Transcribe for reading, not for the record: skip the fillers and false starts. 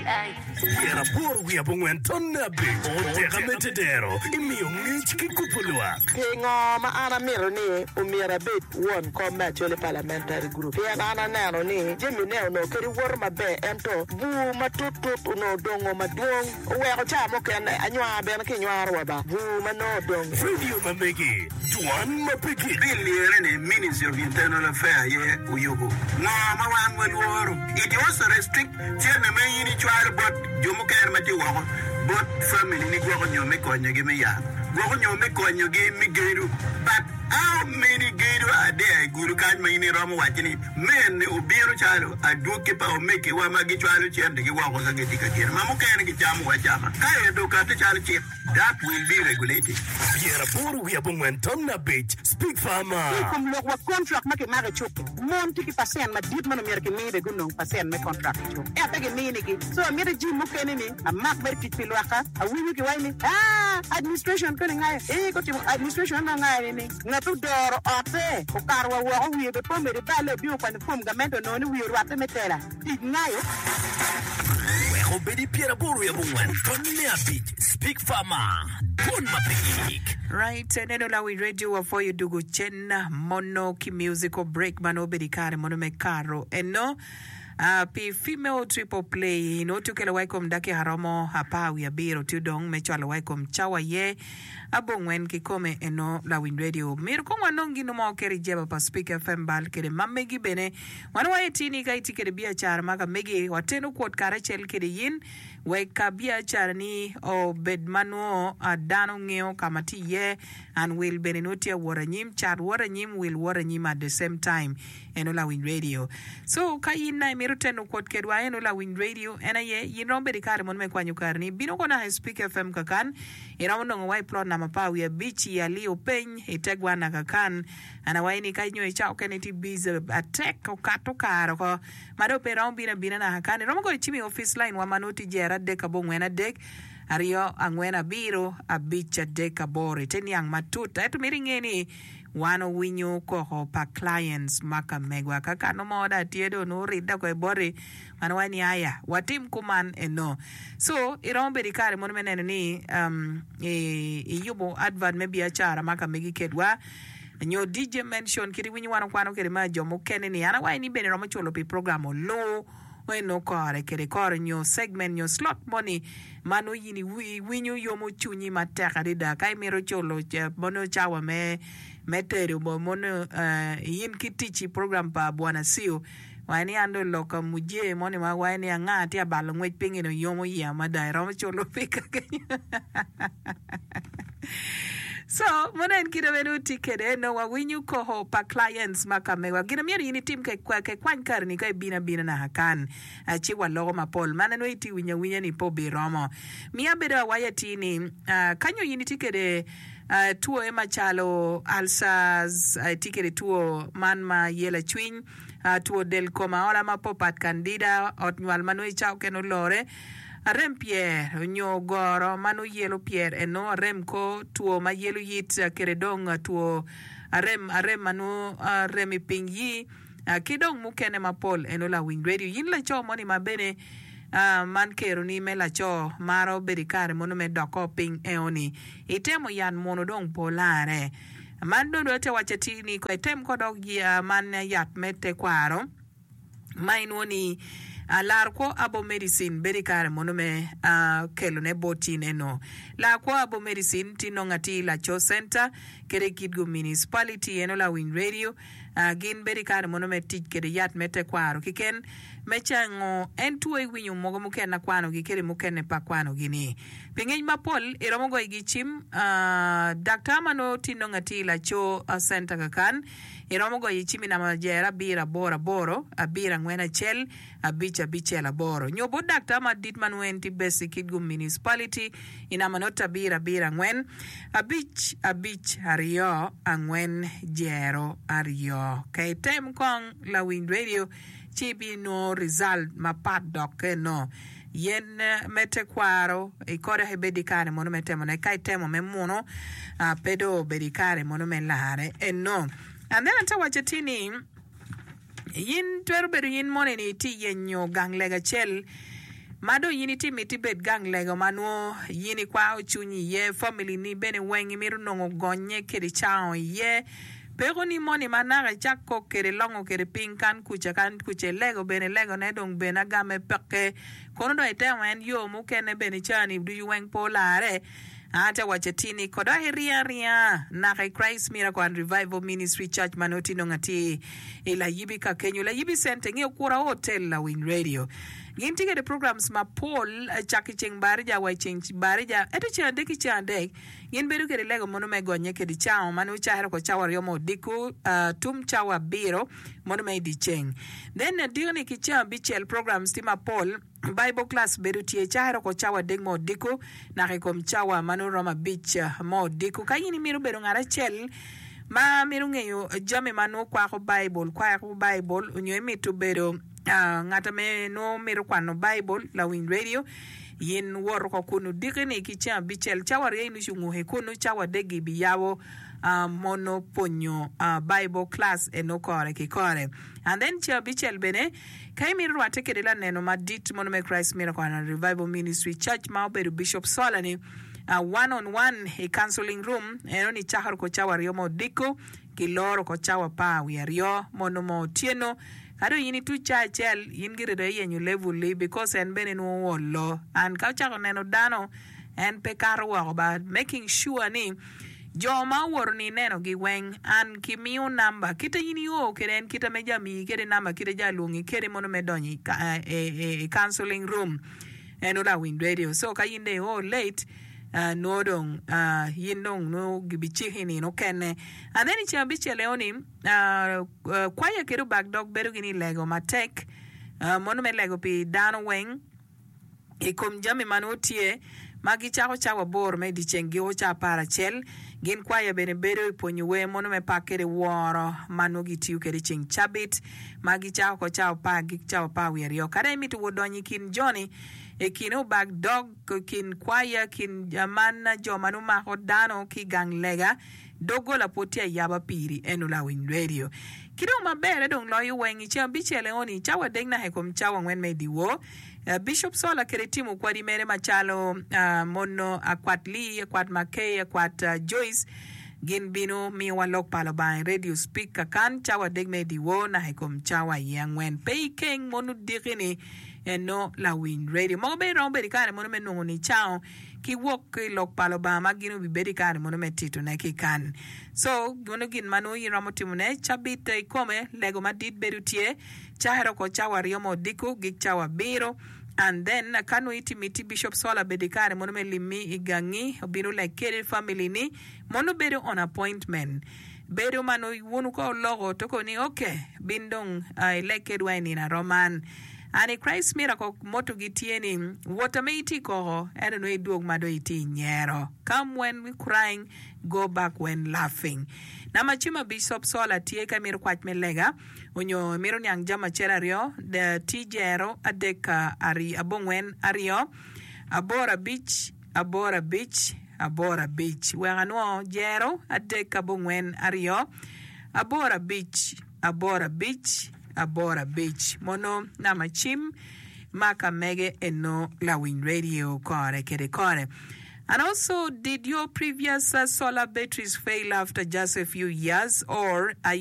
Pyeraboro wiye abongwen tonne abic Oteka me tedero imiyo ngec ki kubo lwak. Pingo ma an amito ni omyero abed won kom me Acholi Parliamentary Group? Pien an aneno ni jami ne onongo kadi woto maber ento bur matut tut onongo odongo madwong oweko ca mukene anywar bene ki nywaro wa ba bur ma nongo odong. Radio ma megi, dwan ma pe gik. Bill lire ni Ministry of Internal Affair aye oyubo. Ngo ma wan walworo? It also restrict cente ma in icwalo bot jo mukene ma tye woko bot family ni gwoko nyo me konyogi me yat, gwoko nyo me konyogi me gedo. But how many gedo are there i gudo kany ma in iromo waco ni mene obino calo adwogi pa omegiwa ma gicwalo centegi woko ka gitye ka gedo ma mukene gicamo acama ka ento okati calo cik? That will be regulated. 85 5 Speak Farmer. Ki i kom lok wa kontrak ma kimako i cuk-ki, mon tye ki pacent madit ma nongo myero kimi bene gunong pacent me kontrak i cuk ento pe giminigi. So amito jim mukene ni amak mere tic pi lwakka. Awinyo kiwaco ni aa administration koni ngayo ee gutimo administration nongo ngayo ni ni ngat odoro otte okato wa woko wiye bene pe omedo iballe obino okwanyo form gamente onongo ni wiye orwatte me tela. Tic ngayo. Wek obed i 84 5 Speak Farmer, Dwon ma pe gik. Right, neno lawi radio wapwoyo dugo cen mono ki musical break ma nongo obedo i kare mono me karo eno uh, pi female triple play nongo tye okelo wa i kom dakika romo apar wiye abiro tye odong me cwalo wa i kom cawa ye abongwen kikome eno lawiny radio myero kong wanong gin mo keri i jeba pa Speak FM bal kede ma megi bene Wan waye tye ni ka itye kede biacara ma ka megi, wateno kwot karacel kede yin wek ka biacara ni obed ma nwo dano ngeyo ka ma tye iye and wil bene nwo tye awot anyim, cat wot anyim, wil wot anyim at the same time. Eno lawiny radio. So ka yin na imito teno kwot kedwa eno lawiny radio en aye yin romo bedo ikare mono me kwanyo kare ni bino kono I Speak FM kakan iromo nongo wa i plot namba 15 i Aliyo peny ite gwana kakan. An awaco ni ka nyo i cawa okene itye busy atek okato kare oko ma dong pe iromo bino abina naka kany iromo goyo cim i office line wa ma nongo tye jero adek abongwen adek aryo angwen abiro abic adek aboro ite niang matut ento myero inge ni wan owinyo koko pa clients ma ka megwa ka kano mo dong tye dong nongo oridde oko iboti wan waco ni aya watim kuman eno so iromo bedo ikare mono me neno ni um, iyubo advert me biacara ma ka megi kedwa Nyo DJ mention kit iwinyo wan okwano kede ma jo mukene ni an awaci ni bene romo culo pi program oloo eno kore kede kore nyo segment nyo slot moni ma nongo in iwinyo yomo cwinyi matek adada ka imito culo mono cawa me me tedo mono in ki tic i program pa Bwana Sio waci ni an dong lok mujee moni ma waci ni anga tye abalo ngwec piny eni oyomo iya mada iromo culo pi kakenyo. So, mono en kite ma nongo tye kwede, nongo wawinyo koko pa clients ma ka mewa. Gin myero in itim ke kwany kareni ka ibino abina naka kan, ci waloko mapol. Man nongo itye winyo awinya ni pe obiromo. Miya abedo awaco atir ni, ka nyo in itye kwede twoye macalo ulcers, itye kwede two man ma yela cwiny, two del kom aola ma popat, candida, ot nywal ma nongo icawa okene olore, Arem pyer onyo goro ma nongo yelo pyer eno arem kor two ma yelo yit kede dong two arem arem ma nongo rem i piny yi ki dong mukene mapol eno lawiny radio yin laco moni ma bene man kero ni me laco maro bedo ikare mono me doko piny eo ni itemo yat muno dong pe olare man dong dong ate waco atir ni ko item ko dok man yat me tekwaro. ma inwongo ni lar kwo herbal medicine bedo i kare mono me kelone bot in eno. Lar kwo herbal medicine tye nongo atir i Laco Center kede i Kitgum Municipality eno lawiny radio gin bedo i kare mono me tic kede yat me tekwaro kiken me cango en two iwinyo mogo mukene akwanogi kede mukene pe akwanogi ni. Pi ngec mapol iromo goyo gi cim daktar ma nongo tye nongo atir i Laco Center kakan. Iromo goyo cim i namba jero abiro aboro aboro, abiro angwen acel, abic abicel aboro. Nyo bot daktar madit ma nongo en tye based i Kitgum Municipality i namba note abiro abiro angwen, abic abic aryo angwen jero aryo. Ka item kong lawiny radio ci ibinongo result mapat dok eno. Yen me tekwaro i kore ibed i kare mono me temone, ka itemo me muno pe dong obedo i kare mono me larre eno. And then ate waco atir ni in twero bedo in moni ni itye yenyo gang lega acel. Ma dong in itye miti bed gang lego ma nwo yin ikwako cwinyi iye, family ni bene weng imito nongo gonye kede cango iye. Peko ni moni ma naka icak kok kede longo kede piny kan kuca kan kuca ilego bene lego ne dong bene agame peke. Kono dong itemo en yo mukene bene cani ducu weng pe olare. Ate waco atir ni kodok iringo aringa naka i Christ Miracle and Revival Ministry Church ma nongo tye nongo atir i Layibi ka kenyo Layibi Center inge Okura Hotel Lawiny Radio. Gin tye kede programs mapol cak i ceng barija wa i ceng barija ento ceng adek ki ceng adek gin bedo kede lego mono me gonye kede cawa ma nongo cakere oko cawa aryo me odiko tum cawa abiro mono me i dye ceng. Then adiko ni ki ceng abicel programs tye mapol. Bible class bedo tye caro oko cawa adek me odiko naka i kom cawa ma nongo romo abic me odiko. Ka in imito bedo ngat acel ma mito ngeyo jami ma nongo kwako Baibul, kwako Baibul, onyo imito bedo ngat ame nongo mito kwano Baibul, lawiny radio, in wot oko kun odiki-ni ki ceng abicel cawa aryo inucu nguki kunu, cawa adek gibiyabo mono pwonyo Bible class eno kore ki kore. And then ceng abicel bene, Ka imito rwatte kede laneno madit mono me Christ Miracle and Revival Ministry Church ma obedo Bishop Sola ni one on one i counseling room eno ni cakre ko cawa aryo me odiko ki loro ko cawa apar wiye aryo mono mo otyeno ka dong in ituc ca acel in gire dong iyenyo level li because en bene nwo olo and ka ocako neno dano en pe kato woko ba making sure ni Jo ma owoto ni inenogi weng, an ki miyo namba kite in io kede en kite me ja miyi kede namba kite ja lwongi kede mono me donyo i counseling room en olawiny radio so ka in dong io late nwo dong in dong nwo gibi ciki nino okene and then i ceng abicel eo ni kwaya kede obak dog bedo gini lego matek mono me lego pi dano weng. I kom jami ma nongo tye ma gicako cawa aboro me dyeceng giko ca aparacel, gin kwaya bene bedo i pwonyo wer mono me pak kede woro ma nongo gitiyo kede i ceng cabit ma gicako oko cawa apar gik cawa apar wiye aryo. Kadi imito wot donyo i kin joni, i kin obak dog, i kin kwaya, kin man jo ma nongo mako dano ki i gang lega, doggola pwod tye ayaba piri eno lawiny radio. Ki dong maberre dong loyo weng i ceng abicel eoni cawa adek naka i kom cawa angwen me dyewor, Bishop Sola kede timo kwadi mere macalo Mono Akwat Lee, Akwat Mackay, Akwat Joyce gin bino miyowa lok pa Lubanga i radio speak kakan cawa adek me dyewor naka i kom cawa iye angwen. Pe ikeng mono diki ni eno lawiny radio. Mogo bene romo bedo i kare mono me nongo nicango ki wok ki i lok pa Lubanga ma gin obibedo i kare mono me titone ki kan. So mono gin ma nongo in iromo timone cabit i kome lego madit bedo tye cakere oko cawa aryo me odiko gik cawa abiro and then ka nongo itye miti Bishop Sola bedo i kare mono me limmi i gangi obino lek kede family ni mono bedo on appointment bedo ma nongo wunu ka oloko to koni ok bin dong ilek kedwa i nino aro man and i Christ Miracle motto gi tye ni wot ame itye koko ento nongo idwog ma dong itye inyero come when crying go back when laughing. Namba cim abic Bishop Sola tye ka imito kwac me lega onyo imito niang jami acel aryo, ti jero adek abongwen aryo aboro abic aboro abic aboro abic. Wek anwo jero adek abongwen aryo aboro abic aboro abic aboro abic. Mono namba cim ma ka mege eno lawiny radio kore kede kore. And also did your previous solar batteries fail after just a few years or are you.